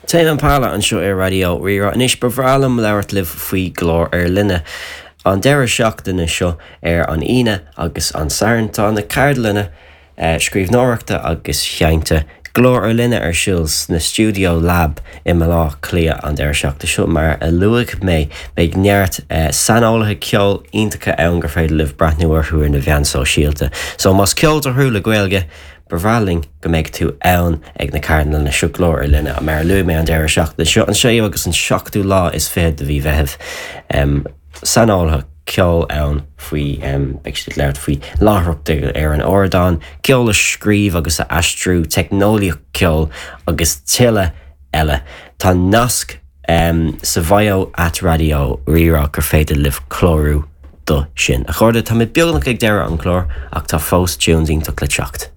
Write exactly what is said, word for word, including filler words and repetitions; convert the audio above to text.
Tame Impala anseo ar Raidió Rí-Rá anois ba bhreá liom labhairt libh faoi Glór ar Line. An deireadh seachtaine seo ar an Aoine agus an Satharn tá na ceardlanna eh, scríbhneoireachta agus seinnte Glór ar Line ar siúl sna Studio Lab i mBaile Átha Cliath an deireadh seachtaine seo mar a luaigh mé beidh neart eh, saineolaithe ceoil iontacha ann gur féidir libh breathnú orthu ar na meáin sóisialta. So más ceoltóir thú le Gaeilge, Ba bhreá linn go mbeidh tú ann ag na ceardlanna seo Glór ar Line mar a luaigh mé an deireadh seachtaine seo an séú agus an seachtú lá is fiche de mhí Mheithimh. Um, saineolaithe ceoil ann faoi um, beidh siad ag labhairt faoi láithreacht ar an ardán, ceol a scríobh agus a aistriú, teicneolaíocht ceoil agus tuilleadh eile. Tá nasc um, sa bhio at Raidió Rí-Rá gur féidir libh clárú do sin. A chairde tá mé beagnach ag deireadh an chlár ach tá fós tunes iontach le teacht.